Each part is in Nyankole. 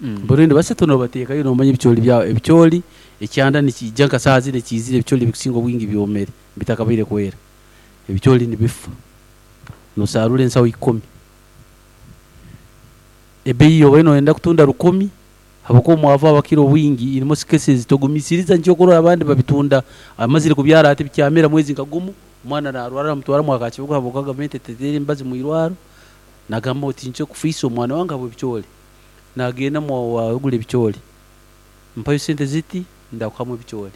Burundi basatu nobateekayo nomanya ebicoori byawe ebicoori ekyanda nikiija nka saaha zinu ekiizire ebicoori ebikusinga obwingi byomere bitakabaire kwera ebicoori nibifa nosarura ensaho ikumi ebeeyi yobaire noyenda kutunda rukumi habwokuba omwavu abakira obwingi in most cases togumisiriza nikyo okurora abandi babitunda amazire kubyara ati bikyamera mwezi nka gumu omwana narwara bamutwara mwa Kakibuga habwokuba gavumenti eteteire emibazi mwirwaro nagamba oti nikyo kufiisa omwana wange habw'ebicoori. Nagenda owa ogura ebicoori, mpayo sente ziti ndakuhamu ebicoori.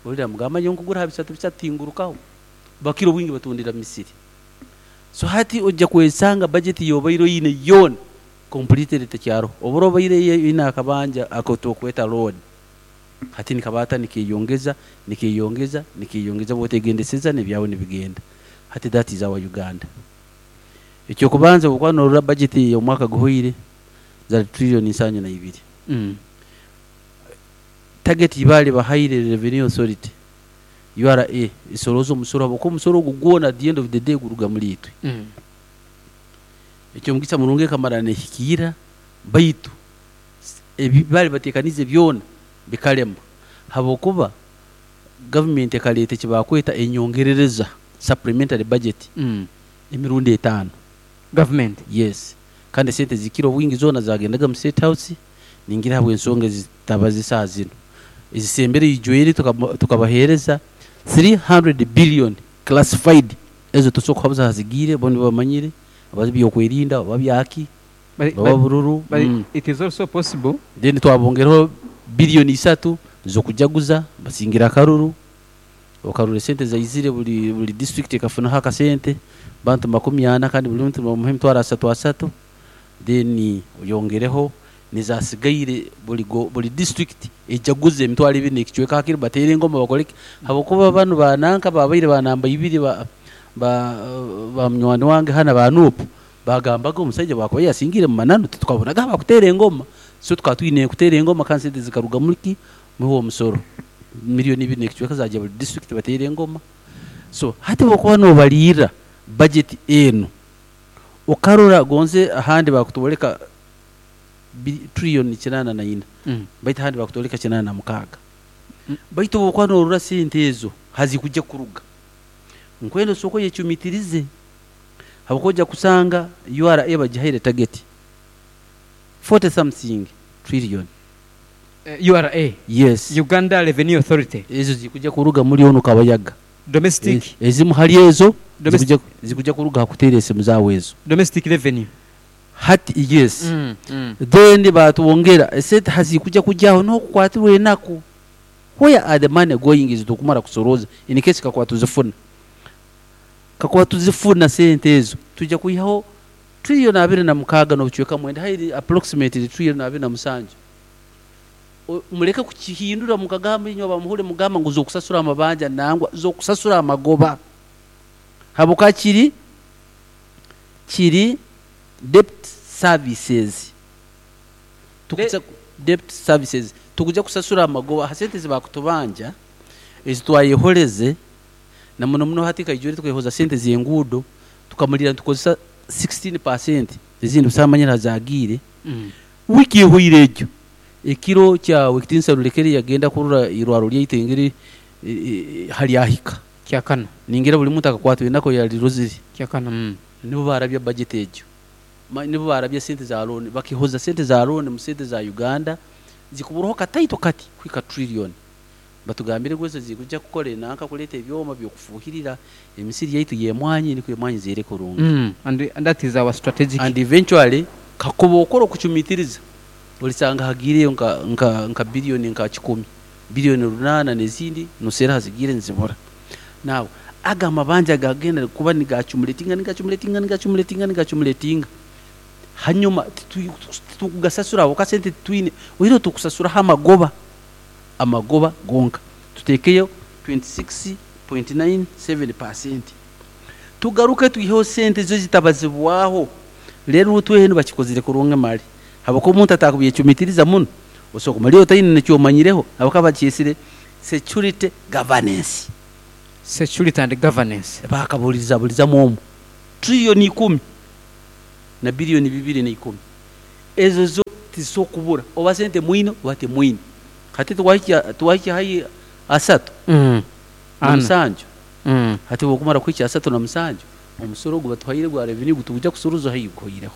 Ori namugamba nyowe nkugura aha bisatu bisatu tingurukaho. Bakira obwingi batundira misiri. So hati oija kwesanga budget yobaire oine yoona completely tekyaroho. Obura obaire oine akabanja aku turikweta loan hati nikabaata nikeyongeza, nikeyongeza, nikeyongeza bwotegendeseza nebyawe nibigenda. Hati that is our Uganda. Ekyokubanza obu okuba norora budget eyomwaka guhweire zari trillion nsanju na ibiri. Target yibaare bahaire Revenue Authority, URA, esorooze omusoro habwokuba omusoro ogu gwona at the end of the day guruga muri itwe. Ekyomugisa murungi ekamara nehikiira baitu ebi baare bateekaniize byona bikarema habwokuba government ekareeta eki baakweta enyongerereza, supplementary budget, emirundi etaano. Government? Yes. Kandi esente ezikira obwingi zoona zagendaga mu State House, ningira ahabw'ensonga ezitabaza esaaha zinu. Ezisembere ijwire tukabaheereza 300 billion classified, ezo tosobola kuhabuza aha zigiire, bo nibo bamanyire, oba by'okwerinda, oba byaki, oba bururu. But it is also possible. Then twabongereho billion isatu z'okujaguza, basingire akaruru. Okarora esente zaizire buri buri district ekafunaho akasente, bantu makumi ana kandi buri muntu nibamuha emitwaro asatu asatu, then oyongereho nezasigaire buri go buri district ejaguze emitwaro ebiri nekicweka hakiri bateere engoma bakore ki habwokuba banu ba nanka babaire ba namba ibiri ba ba ba munywani wange hanu aba Nup bagambaga omusaija bwakuba yasingiire mumananu titukabonaga abakuteera engoma so tukaba twine kuteera engoma kandi sente zikaruga muri ki Muhe omusoro million ibiri nekicweka zagya buri district bateere engoma. So hati bwokuba nobariirra budget enu okarora gonze ahandi bakutworeka trillion kinana na ina baitu ahandi bakutworeka kinana na mukaaga. Baitu obwokuba norora sente ezo hazikujya kuruga nkwenda osooke oyecumitirize habwokuba ojya kusanga URA bagihaire target 40 something trillion. URA, Yes. Uganda Revenue Authority. Ezo zikuja kuruga muri onu Kabayaga. Domestic. Ezimu hali ezo Domestic. zikuja kuruga ha kuteera esimu zaawe ezo. Domestic Revenue. Hati yes. Then baatwongera esente hazikuja kugya aho niho okukwatirwa enaku. Where are the money going ezitukumara kusorooza in case kakuba tuzifuna. Kakuba tuzifuna sente ezo twija kwihaho trillion 26 n'obucweka mwenda hairi approximately trillion 27. Mureke kukihindura mukagamba inywe abamuhure mugamba ngu z'okusasura amabanja nangwa z'okusasura amagoba habwokuba kiri kiri debt services tukuza debt services tukuja kusasura amagoba ha sente ezi bakutubanja ezi twayehoreze na muno muno hati nkaijwire tukehoza sente z'enguudo tukamalira nitukozesa 16% ezindi busaho amanyire ahazagiire. Wiiki ehweire egyo, ekiro kya Ow'ekitiinisa Rurekere yagenda kurora eirwarro ryaitu engeri haryahika. Kyakana. Ningira buri muntu akakwatwa enaku yarirozire. Kyakana. Nibo baarabya budget egyo. Nibo baarabya sente za loan. Bakehoza sente za loan mu sente za Uganda zikuburaho kataito kati kuhika trillion. Batugambire ngu ezo zikuja kukora enanka kureeta ebyoma by'okufuuhirira emisiri yaitu y'emwanyi nikwo emwanyi zeere kurungi. And that is our strategic. And eventually kakuba okora okucumitiriza orisanga hagiireyo nka nka nka billion nka kikumi, billion runaana n'ezindi noseera hazigiire nizibura. Now ago amabanja gagenda kuba nigacumuletinga nigacumuletinga nigacumuletinga nigacumuletinga hanyuma titukugasasura habwokuba sente titwine oihireho tukusasuraho amagoba. Amagoba gonka tuteekeyo 26.97%. Tugaruke twiheho sente zo ezitabazibwaho reero twehe nibakikozire kurungi mare habwokuba omuntu ataakubyecumitiriza muno osobola kumara otaine neki omanyireho habwokuba bakyesire security governance. Security and governance. Baakaburizaburizamu omu trillion ikumi na billion bibiri na ikumi ezo zo. Tizisobola kubura oba sente mwine oba timwine. Hati twahikya twahikya haihi asatu na Ana. musanju. Hati obu okumara kuhikya asatu na musanju, omusoro ogu batuhaire gwa revenue gutugya kusuruza haihi guhweireho.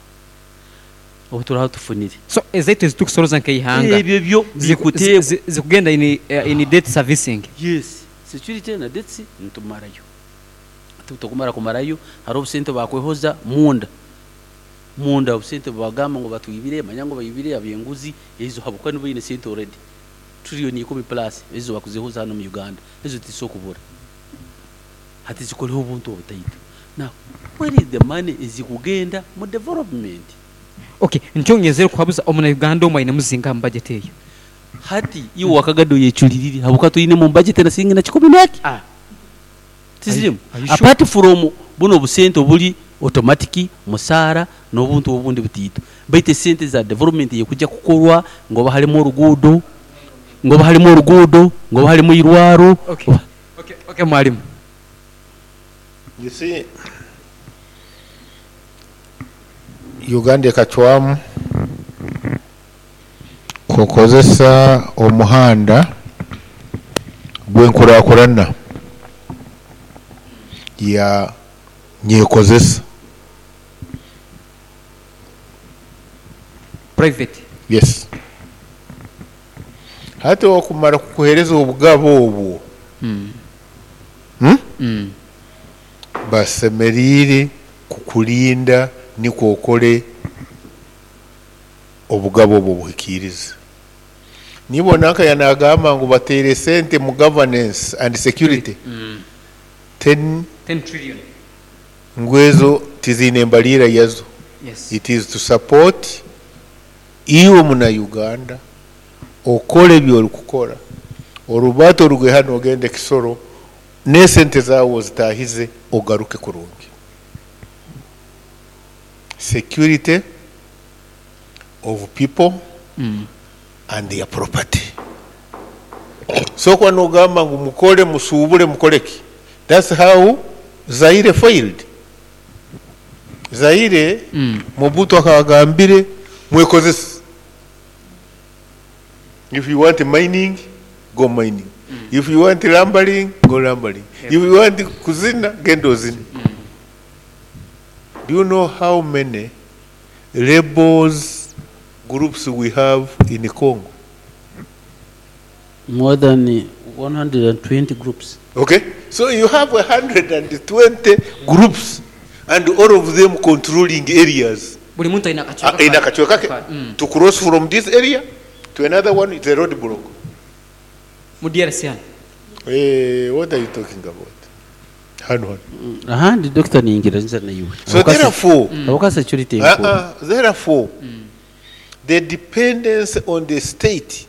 Obu turaba tufunire. So ezaitu ezitukusoroza nk'eihanga Ebyo byo bikuteebwa. zikugenda in in debt servicing. Yes, security na debts nitumarayo. Hati obu tukumara kumarayo, hariho obusente bakwehoza munda. Munda obusente bubagamba ngu batwibire, manya ngu baibire ab'enguzi, ezo habwokuba nibo baine sente already. Trillion ikumi plus ezo bakuzihuza hanu omu Uganda, ezo tizisobola kubura. Hati zikoreho obuntu obutaito. Now, where is the money ezikugenda mu development? Ok, nikyo ngenzere kuhabuza omuna Uganda omwe ainemu zingaha mu budget eyo? Hati iwe wakagado oyecuririre habwokuba toinemu omu budget na siringi na kikumi n'eki. Ah. Tizirimu. Are you sure? Apart from bunu obusente oburi automatic, musaara n'obuntu obundi butaito. Baitu esente za development ey'okuja kukorwa ngu oba harimu oruguudo, ngu oba harimu oruguudo, ngu oba harimu eirwaro, Okay, oba. okay, okay mwalimu. You see, Uganda ekacwamu kukozesa omuhanda gw'enkurakurana ya nyekozesa. Private. Yes. Hati okumara kukuhereza obugabe obwo, Basemeriire kukurinda nikwo okole obugabe obwo obuhikiirize. Niiwe nanka yanagamba ngu bateire sente mu governance and security ten Ten trillion. ngu ezo tiziine mbariira yazo. Yes. It is to support iwe muna Uganda okole ebi orikukora, orubate oruge hanu ogende Kisoro n'esente zaawe ozitaahize ogaruke kurungi. Security of people and their property. So kuba nogamba ngu mukore, musuubure, mukore ki, that's how Zaire failed. Zaire, Mobutu akaba agambire mwekozese. If you want mining, go mining. If you want lumbering, go lumbering. If you want kuzina, genda ozine. Do you know how many rebels groups we have in Congo? More than 120 groups. Okay, so you have 120 groups and all of them controlling areas. Buri muntu aine akacweka Aine akacweka ke. Mm. To cross from this area to another one is a roadblock. Mu DRC hanu. Eh, what are you talking about? Hanu hanu. Ahandi Dokita ningira nza naiwe. So therefore, Habwokuba security enkuru. Therefore, the dependence on the state